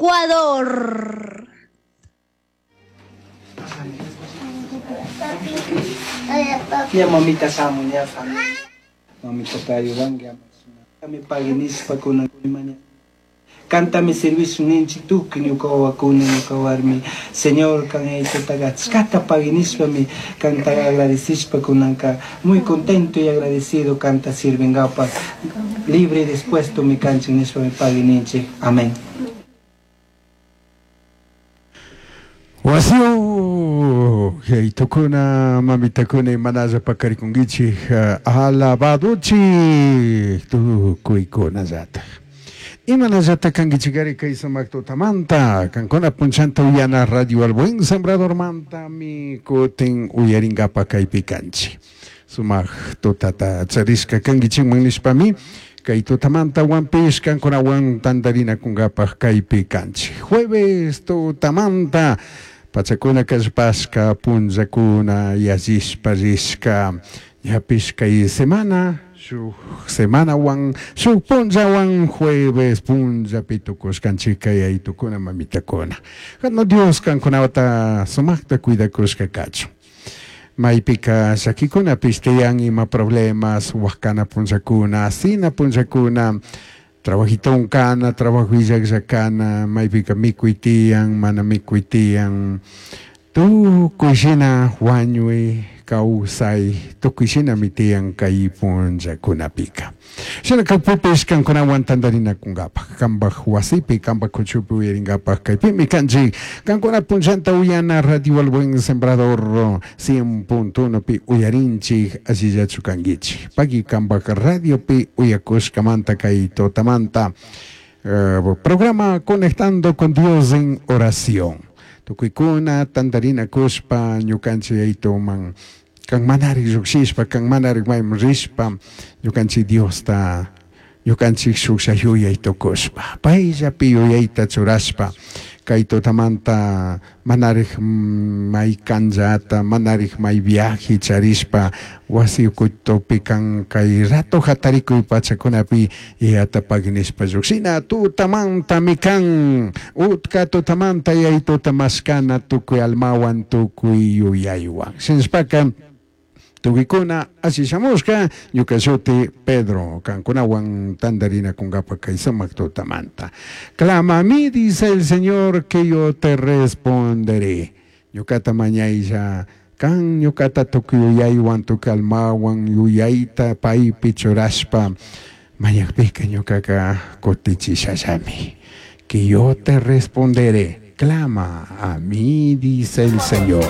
Ecuador. Ña mamita shamun ña familia. Mamita ayudanki ama pagui nishpa kunan maña. Kantami servicio ninchik tukuy ñuka wawakuna ñuka warmi. Señor kan yaytutaqa achkata pagui nishpami kantaqa agradecishpa kunanka muy contento y agradecido kanta sirvinkapak libre y dispuesto mi kanchik nishpami pagui ninchik. Amén. Wasiu, yaytukuna, mamitakuna imanalla pakarikunkichik alabaduchik tukuykunallatak. Imanallata kankichikari kay sumaq tutamanta, kankuna punchanta uyana Radio El Buen Sembradormanta mi kutin uyarinkapak kaypi kanchik. Sumaq tutata charishka kankichikman nishpami kay tutamanta wanpish kankunawan tantarinakunkapak kaypi kanchik. Jueves tutamanta pachakuna kallpashka punllakuna yallishpa rishka ñapish kay semana shuk semanawan shuk punllawan jueves punllapi tukushkanchik kay aytukuna mamitakuna. Jano Dios kankunata sumakta cuidakushka kachun. Maypika llakikunapish tiyan ima problemas wakana punllakuna asina punllakuna trabajiton kana trabajo illaklla kana maypika mikuy tiyan mana mikuy tiyan tukuy shina wañuy kawsay tukuy shinami tiyan kay punllakunapika. Shina kakpipish kankunawan tantarinakunkapak kanpak wasipi kanpak kuchupi uyarinkapak kaypimi kanchik kankuna punllanta uyana Radio El Buen Sembrador 100.1 pi uyarinchik allillachu kankichik paki kanpak radiopi uyakushkamanta kay tutamanta programa Conectando con Dios en Oración. Tukuykuna tantarinakushpa ñukanchik yaytuman kan manari llukshishpa kan manari mayman rishpa ñukanchik Diosta ñukanchik shuklla yuyay tukushpa payllapi yuyayta churashpa kay tutamanta manarik may kanllata manarik may viaje charishpa wasi ukutupi kan kay rato hatarikuy pachakunapi yayata pagui nishpa llukshina tutamantami kan utka tutamanta yaytuta mashkana tukuy almawan tukuy yuyaywan shinashpaka tukuykuna alli shamushka ñuka shuti Pedro kankunawan tantarinakunkapak kay sumak tutamanta. Clama a mí, dice el Señor, que yo te responderé. Ñukata mañaylla kan ñukata tukuy yuyaywan tukuy almawan yuyayta paypi churashpa mañakpika ñukaka kutichishallami. Que yo te responderé. Clama a mí, dice el Señor.